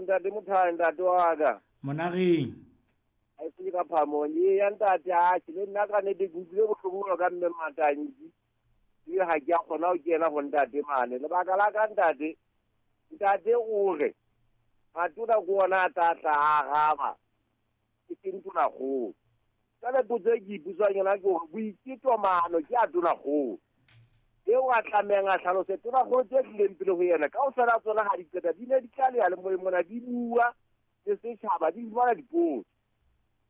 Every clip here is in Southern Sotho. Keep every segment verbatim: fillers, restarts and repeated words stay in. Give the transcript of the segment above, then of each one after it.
ntate Mothae, ntate wa ka. Monareng. A se ka phamong ye ya ntate a ke le nna ka nete ke utlwile bohloko ka mme Matanki. Ke ha ke a kgona ho kena ho ntate mane. Lebaka la ka ntate, ntate o re matona ke ona a tla tla araba. Ke seng tonakgolo. Jwale potso e ke ipotsang yona ke hore boiketo maano ke a tonakgolo. Eo a tlamehang a hlalose tonakgolo tse tlileng pele ho yena kaofela tsona ha di qeta di ne di tla leya-le-moyeng mona di bua le setjhaba di fumana dipotso.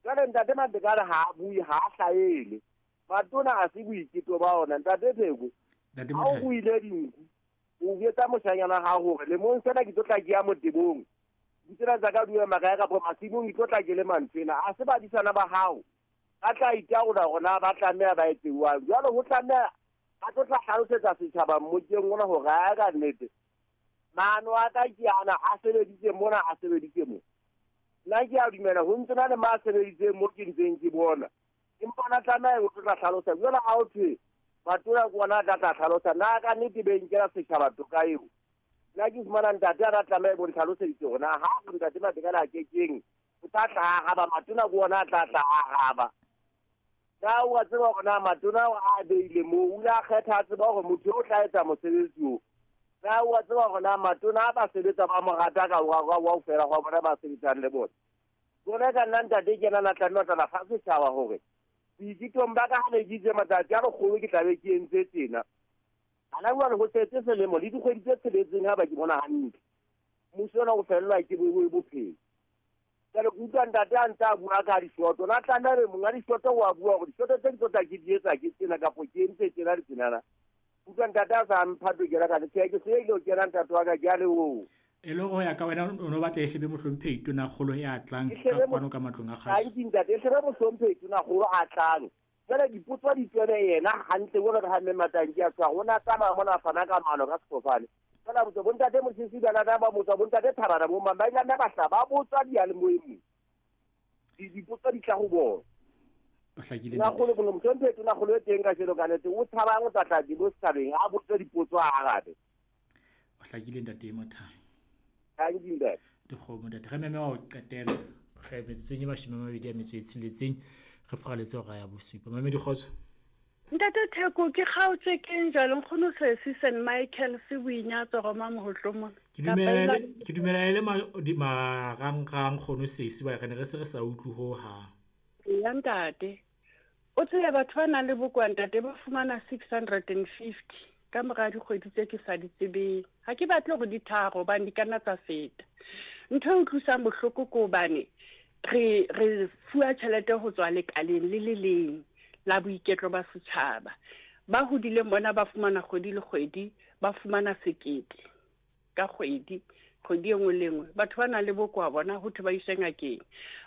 Jwale ntate Matekane ha a bue, ha a hlahele. Matona ha se boiketo ba ona ntate Pheko. Ntate Ha o Mothae. buile dinku, o jwetsa moshanyana ha hore lemong sena ke tlo tla ke ya motebong. Ditsela tsa ka di ema kae kapa masimong ke tlo tla ke le mantswena. Ha se badisana ba hao ba tla itaola hore na ba tlameha ba etse jwang. Jwale ho tlameha ba tlo tla hlalosetsa setjhaba mmokeng ona hore ha ka nnete maano a ka ke ana a sebeditse mona a sebeditse mo. Nna ke a dumela ho ntse na le ma sebeditseng mo ke ntseng ke bona. Empa ona tlameha ho tlo tla hlalosa. Jwale ha ho thwe matona ke ona a tla tla hlalosa, na ka nnete be nkela setjhaba toka eo. Nna ke fumana ntate a tla tlameha bo ntlhaloseditse hore na ha re ntate Matekane a kekeng o tla tla araba, matona ke ona a tla tla araba. Na o a tseba hore na matona ao a beile moo, o ile a kgetha a tseba hore motho o tla etsa mosebetsi oo. Na o a tseba hore na matona a ba sebetsa ba mo rata ka wa wa wa fela hwa bona ba sebetsang le bona. Jwale ka nna ntate ke yena a tlameha ho tla fa setjhaba hore boiketong ba ka ha ne ke itse matsatsi a lekgolo ke tla be ke entse tjena. Hana jwale ho setse selemo le dikgwedi tse tsheletseng ha ba ke bona hantle. Mmuso ona o fellwa ke bophelo. Jwale ke utlwa ntate a ntse a bua ka dishoto. Na tlameha ebe monga dishoto wa bua hore dishoto tse ke tlo tla ke di etsa ke tsena kapa ke entse tjena le tjenana. Utlwa ntate a sa mpha tokelo ka tjhe, ke se ile ho kena ntate wa ka ke a leboha. E le hore ho ya ka wena o no batla e hlebe mohlomphehi tonakgolo ya tlang E ka hlebe kwano ka matlong a kgaso. Hantle ntate, e hlebe mohlomphehi tonakgolo a tlang. Jwale dipotso di tswele yena hantle jwalo ka ha mme Matanki a tshwara. O na tsamaya mona a fana ka maano ka sefofane. Jwale a botsa bontate Mosisi bana ba botsa bontate Thabana bo mang ba ile ba hla ba botsa diyalemoyeng mo. Di dipotso di tla ho bona. O hlakile Tonakgolo ke mohlomphehi tonakgolo e teng kajeno ka nnete o tshabang o tla tla di bo setjhabeng a botse dipotso a arabe. O hlakile ntate Mothae. Hantle ntate. Dikgomo ntate, re meme wa ho qetela. Re metsotsong e mashome a mabedi a metso e tsheletseng re furaletse hora ya bosupa. Mamedi kgotso. Ntate Theko ke kgaotswe keng jwale nkgono Sesi Saint Michael se boinyatso Roma Mohohlo mona. Ke dumela ke dumela e le marangrang kgono Sesi ba re ne re se re sa utlwe ho hang. Ya ntate. O tsebe batho ba nang le bokowa ntate ba fumana six hundred and fifty ka mora dikgwedi tse ke sa di tsebeng. Ha ke batle hore di tharo hobane di ka nna tsa feta. Ntho e utlwisang bohloko ke hobane re re fuwa tjhelete ho tswa lekaleng le le leng la boiketlo ba setjhaba. Ba hodileng bona ba fumana kgwedi le kgwedi, ba fumana sekete ka kgwedi, kgwedi e nngwe le nngwe. Batho ba nang le bokowa bona ho thwe ba iswe ngakeng.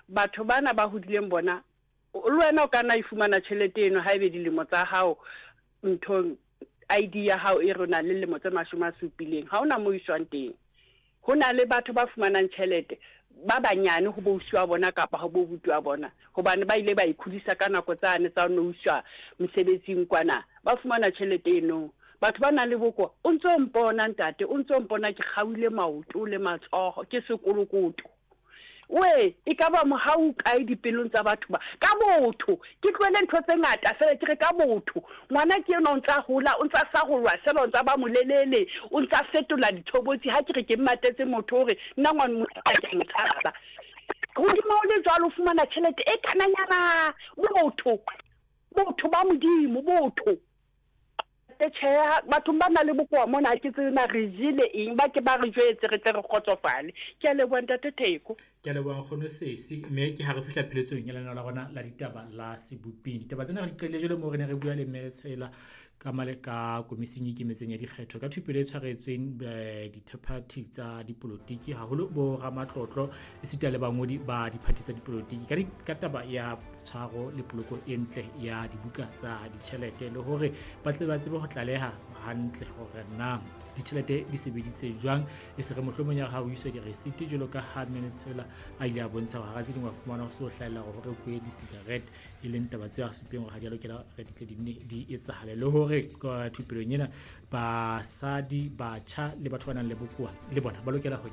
Batho bana ba hodileng bona, le wena o ka nna e fumana tjhelete eno haebe dilemo tsa hao nthong I D ya hao e re o na le lemo tse mashome a supileng, ha hona moo iswang teng. Ho na le batho ba fumanang tjhelete ba banyane ho bo ausi wa bona kapa ho bo buti wa bona, hobane ba ile ba ikhudisa ka nako tsane tsa ho no iswa mosebetsing kwana, ba fumana tjhelete eno. Batho ba nang le bokowa, o ntso mpona ntate, o ntso mpona ke kgaohile maoto le matsoho, ke sekolokoto. We, e ka ba mohau kae dipelong tsa batho ba? Ka botho, ke tlohele ntho tse ngata fela ke re ka botho. Ngwana ke enwa o ntsa hola, o ntsa sarolwa fela, o ntsa ba molelele, o ntsa fetola ditshobotsi. Ha ke re ke mmatetse motho hore nna ngwana motho a ke mo tshaba. Hodimo ho le jwalo o fumana tjhelete e kananyana. Botho, botho ba Modimo, botho. Tjhe, bathong ba nang le bokowa mona ha ke tsebe na re jele eng, ba ke ba re jwetse re tle re kgotsofale. Ke a leboha ntate Theko. Ke a leboha nkgono Sesi, mme ke ha re fihla pheletsong ya lenaneo la rona la ditaba la Seboping. Ditaba tsena re di qadile jwale moo re ne re bua le Mme Letshela ka male ka komising e ikemetseng ya dikgetho ka thupelo e tshwaretsweng dithaphathi tsa dipolotiki, haholo bo ramatlotlo esita le bangodi ba diphathi tsa dipolotiki ka ka taba ya tshwaro le poloko e ntle ya dibuka tsa ditjhelete, le hore ba tle ba tsebe ho tlaleha hantle hore na ditjhelete di sebeditse jwang, e se re mohlomong ya ha o iswa di-receipt jwalo ka ha Mme Letshela a ile a bontsha hore hara tse ding wa fumana ho se ho hlahella hore ho rekuwe di-cigarette, e leng taba tse a supileng hore ha di a lokela re di tle di nne di etsahale, le hore ka thupelong ena basadi, batjha le batho ba nang le bokowa le bona ba lokela ho